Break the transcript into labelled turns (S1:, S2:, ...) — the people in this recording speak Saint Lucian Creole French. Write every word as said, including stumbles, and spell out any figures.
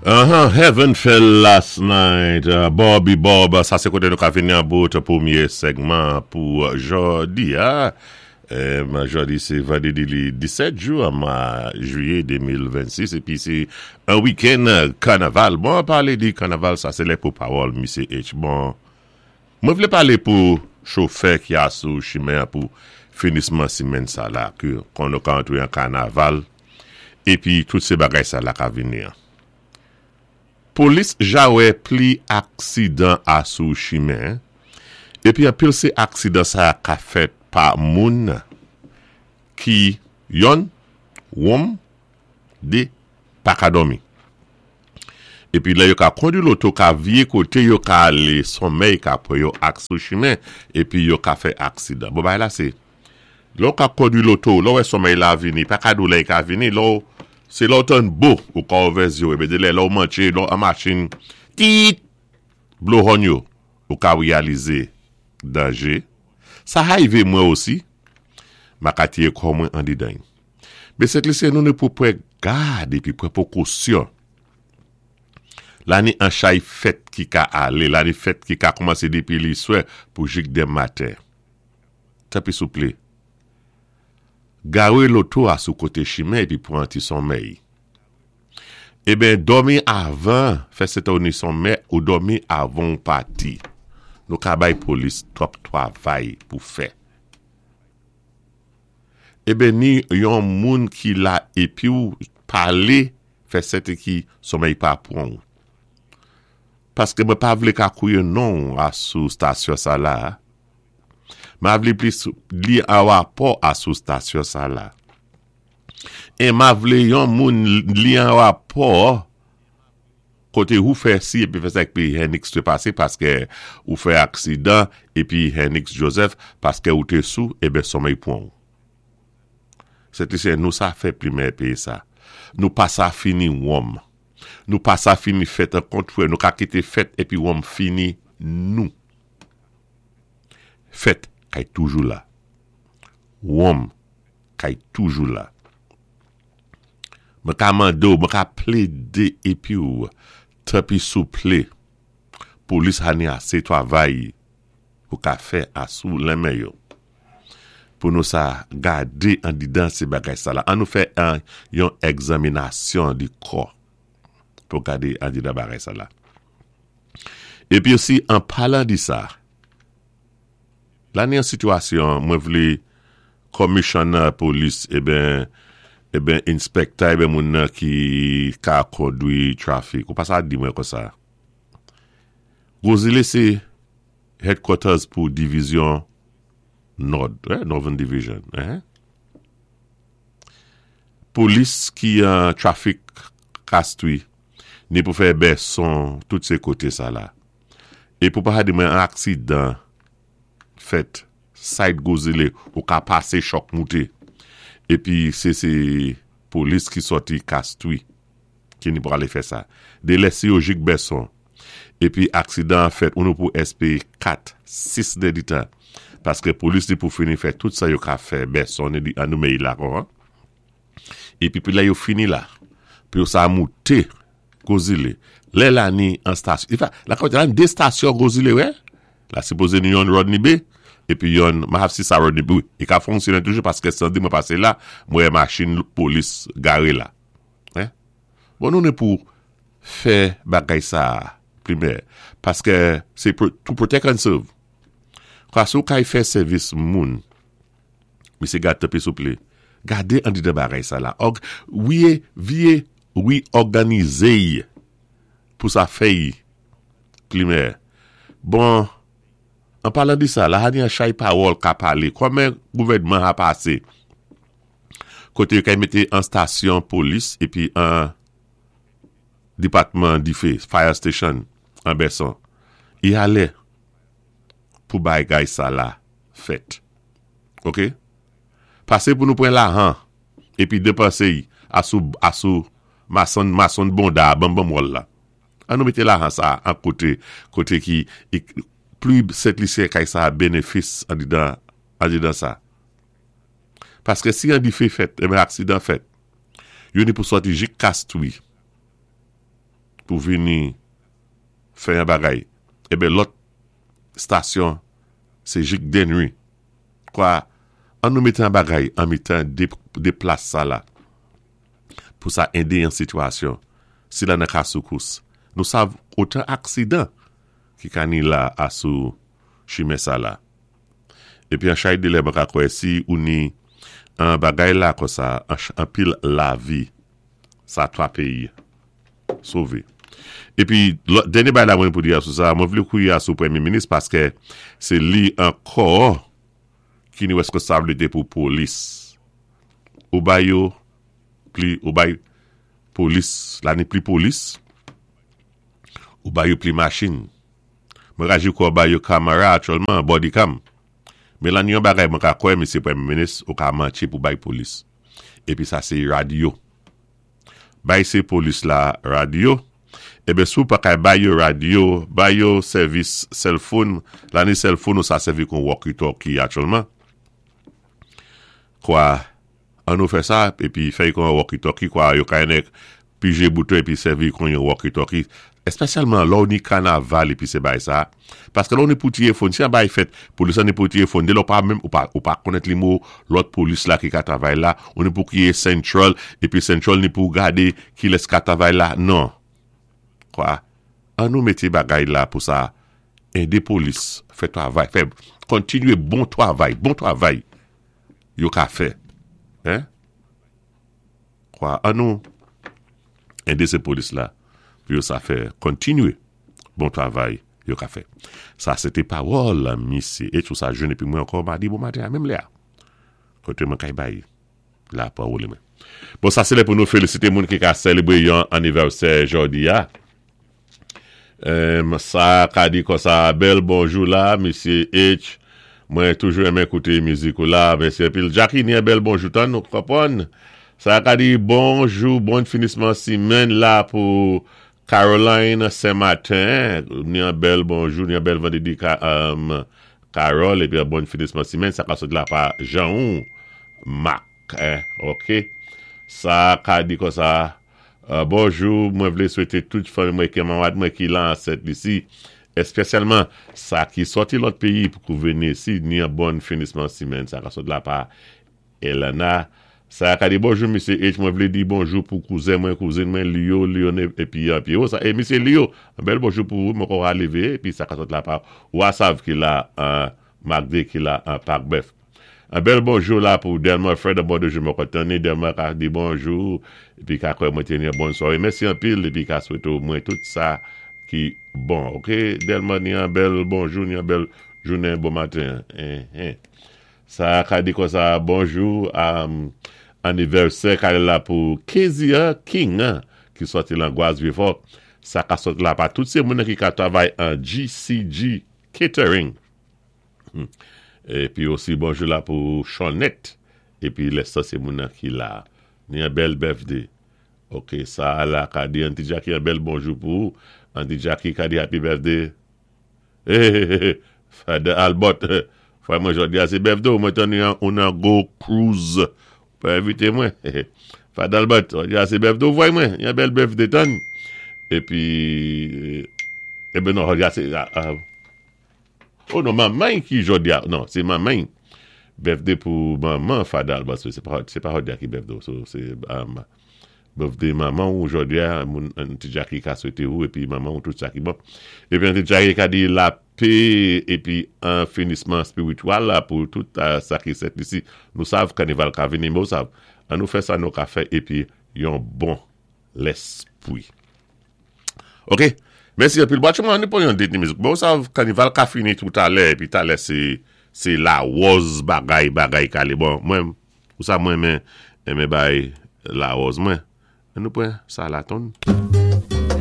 S1: Uh-huh, Heaven Fell Last Night, uh, Bobby Bob, sa sé koté nou ka vini an bout pwémyé segman pou jòdi a. Um, jòdi sé vandédi li disèt jou an mwa jwiyé de mil vennsis épi sé an wikenn kanaval. Bon, palé di kanaval, sa sé lè pou pawòl Misyé H. Bon, mwen vlé palé pou chofè ki a sou chimen pou finisman simenn sa la, ki kon nou ka antwé an kanaval, épi tout sé bagay sa la ka vini an. Polis ja wè pli aksidan a sou chimen, épi anpil sé aksidan sa ka fèt pa moun ki yonn, wonm, dé, pa ka dòmi. Épi lè yo ka kondwi loto ka viyé koté yo ka alé, sonmèy ka pran yo ak sou chimen, épi yo ka fè aksidan. Bon, bay la sé, lè ou ka kondwi loto, lè ou wè sonmèy la vini, pa ka dou lè ka vini, lè ou, sé lè ou tann bo, ou ka ouvè zye ou, épi de lè lè ou mantché, lè ou an machin, tit, blow horn yo, ou ka reyalizé danjé. Sa arivé mwen osi, ma ka tiyé kò mwen an didan. Mé sé sé nou ni pou pwan gad épi pwan pwékosyon. La ni an chay fèt ki ka alé, la ni fèt ki ka kòmansé dépi li swè pou jik denmen maten. Tanpwi souplé. Garé loto a sou koté chimen épi pwan ti sonmèy. Eben, dòmi avan, fè sèten ou ni sonmèy ou dòmi avan ou pati. Nou ka bay polis twòp twavay pou fè. Eben, ni yon moun ki la épi ou palé, fè sèten ki sonmèy pa pran ou. Paské mwen pa vlé ka kwiyé non a sou stasyon sa la. Ma vlé plis li an wapò a sou stasyon sa la. É ma vlé yon moun li an wapò koté ou fè si épi fè sa épi Henix té pasé paské ou fè aksidan épi Henix Joseph paské ou té sou eben sonmèy pran ou. Se sé nou sa fè plimè péyi sa. Nou pa sa fini wonm. Nou pa sa fini fèt an kontwè. Nou ka kité fèt épi wonm fini nou. Fèt kay toujou la. Wonm kay toujou la. Mwen ka mando, mwen ka plédé épi ou tanpwi souplé polis ha ni asé twavay pou ka fè asou lenmen yo. Pou nou sa gadé an didan sé bagay sa la. An nou fè an yon egzaminasyon di kò pou gadé an didan bagay sa la. Épi osi, an palan di sa, la ni an sitiyasyon, mwen vlé commissioner polis, eben, eben inspector, eben moun nan ki ka kondwi traffic. Ou pa sa di mwen kon sa. Gros Islet sé headquarters pou divizyon Nord, eh, Northern Division. Eh? Polis ki an traffic Castries, ni pou fè Besson, tout sé koté sa la. É pou pa di mwen an aksidan fèt, side Gros Islet, ou ka pasé chòk mouté. Épi sé sé polis ki sòti Castries, ki ni pou alé fè sa. De lè si yo jik Besson, épi aksidan fèt, ou nou pou S P kat, sis dé di tan. Paské polis ni pou fini fè tout sa yo ka fè Besson, ni di an nou mey la kon. Épi pi la yo fini la, pi yo sa mouté Gros Islet. Lè la ni an stasyon. In fact, la kote la ni dé stasyon Gros Islet, wè? La sipozé ni yon Rodney Bay, épi yon, ma haf si sa Rodney Bay, i ka fonksyonné toujou paské sandi mwen pasé la, mwen machin polis garé la. Eh? Bon, nou ni pou fè bagay sa primè, paské sé to protect and serve. Kwa sou kay fè sèvis moun, misé gade tanpwi souplé, gade an di de bagay sa la. Og, wiye, viye, wi òganizé pou sa fèy plimè. Bon, an palan di sa, la ha ni an chay pawòl ka palé, kòmen gouvèdman a pasé, koté yo kay mété an stasyon polis, épi an depatman difé, fire station, an Besson. I alé pou bagay sa la fèt. Ok? Pasé pou nou pran lajan, épi dépansé y asou, asou mason, mason bonda, bam bam wòl la. An nou mété lajan sa an koté, koté ki, i, pli Sent Lisyen kay sa bénéfis an didan, an didan sa. Paské si an difé fèt, eben aksidan fèt, yo ni pou sòti jik Castries, Pou vini fè yon bagay. Ében lòt stasyon sé jik Dennery. Kwa, an nou mété an bagay an mitan dé, dé plas sa la. Pou sa édé yon sitiyasyon. Si la nan ka soukous. Nou sav otan aksidan ki ka ni la asou chimen sa la. Épi an chay dé lè mwen ka kwè si ou ni an bagay la kon sa, an, an pil lavi, sa twa péyi sové. Épi, dènyé bagay la mwen pou di asou sa, mwen vlé kouwé asou Pwémyé Minis paské sé li ankò ki ni wèskonsabilité pou polis. Ou bay yo, pli, ou bay polis, la ni pli polis, ou bay yo pli machin. Mwen raji kwa bay yo kamera aktyèlman, body cam. Men la ni yon bagay mwen ka kwè, Mesye Pwémyé Minis, ou ka mantché pou bay polis. Épi sa sé radyo. Bay sé polis la radyo, Ében sou pa kay bay yo radyo, bay yo sèvis cell phone, la ni cell phone ou sa sèvi kon walkie-talkie aktyèlman. Kwa, an nou fè sa, épi fè kon walkie-talkie, kwa yo kay nèk pijé bouton épi sèvi kon yon walkie-talkie. Espesyalman lò ni kanaval épi sé bay sa. Paské lò ni pou téléfòn, si an bay fèt, polis an ni pou téléfòn, dé lò pa menm, ou pa, ou pa konnèt nimewo lòt polis la ki ka travay la, ou ni pou ki central, épi central ni pou gadé ki lès ka travay la, non. Kwa, an nou mété bagay la pou sa, édé polis fè travay, fè, kontinyé bon travay, bon travay, yo ka fè. Hein? Kwa, an nou, édé sé polis la, pou yo sa fè, kontinyé bon travay, yo ka fè. Sa, sé té pawòl, misye, é tou sa jounen, épi mwen ankò madi bon maten, menm lè a. Koté mwen kay bay, la pawòl mwen. Bon, sa sé lè pou nou félisité moun ki ka sélébré yon anivèsè jòdi a. Um, sa ka di kon sa, bèl bonjou la, Mesye H. Mwen toujou renmen kouté mizik ou la, mèsi anpil. Jackie, ni yon bèl bonjou tan, nou konpwann. Sa ka di bonjou, bon finisman simenn la pou Caroline Saint-Martin. Ni yon bèl bonjou, ni yon bèl vandédi um, Carole, épi yon bon finisman simenn. Sa ka sot la pa Jean Mac. Eh, ok. Sa ka di kon sa, uh, bonjou, mwen vlé swété tout fanmi mwen ki manmad mwen ki lan Sent Lisi, espesyalman sa ki sòti lòt péyi pou kou vini isi, ni yon bon finisman simenn. Sa ka sot la pa Elena. Sa ka di bonjou, Mesye H, mwen vlé di bonjou pou kouzen mwen, kouzin mwen, Lio, Lione, épi épi oh, sa, é Mesye Lio, yon bèl bonjou pou ou, mwen kon lévé, épi sa ka sot la pa Wasav ki la an Magde ki la an Parc Bœuf. Yon bèl bonjou la pou Delma Fred, bon de jou mwen kontani, Delma ka di bonjou, épi ka kwè mwen téni yon bon swaré. Mèsi anpil, épi ka swété mwen tout sa ki bon. Ok, Delma ni yon bèl bonjou, ni yon bèl jounen, bon maten. Eh, eh. Sa ka di kon sa, bonjou, um, anivèsè ka la pou Kezia King, hein, ki sòti lan Gwas Vieux-Fort. Sa ka sot la pa tout sé moun ki ka travay an G C G Catering. Hmm. Épi osi bonjou la pou Chonette. Épi lè sa sé moun ki la. Ni yon bèl birthday. Ok, sa la ka di Auntie Jackie yon bèl bonjou pou ou. Auntie Jackie ka di happy birthday. Hey, hey, hey, Father Albert. Frè mwen jòdi a sé birthday ou mwen tann yon nan go cruise. Pa envité mwen. Father Albert, jòdi a sé birthday ou frè mwen. Yon bèl birthday tann. Épi, eh ben non, jòdi a sé, uh, oh non, manman ki jòdi a, non, sé manman. Birthday pou manman Father Albert, sé pa, sé pa jòdi a ki birthday, so sé um, birthday manman ou jòdi a, moun Auntie Jackie ka swété ou, épi manman ou tout sa ki bon. Épi Auntie Jackie ka di lapè, épi yon finisman espirityèl la pou tout uh, sa ki Sent Lisi. Nou sav kanaval ka vini, mwen sav. An nou fè sa nou ka fè, épi yon bon léspwi. Ok, mèsi anpil. Bon, mwen pou yon déni mizik. Bon, sav kanaval ka fini tout alè, épi talè sé sé lawòz bagay bagay kalé. Bon, mwen, ou sa mwen men, men bay lawòz mwen. An nou pran sa la ton.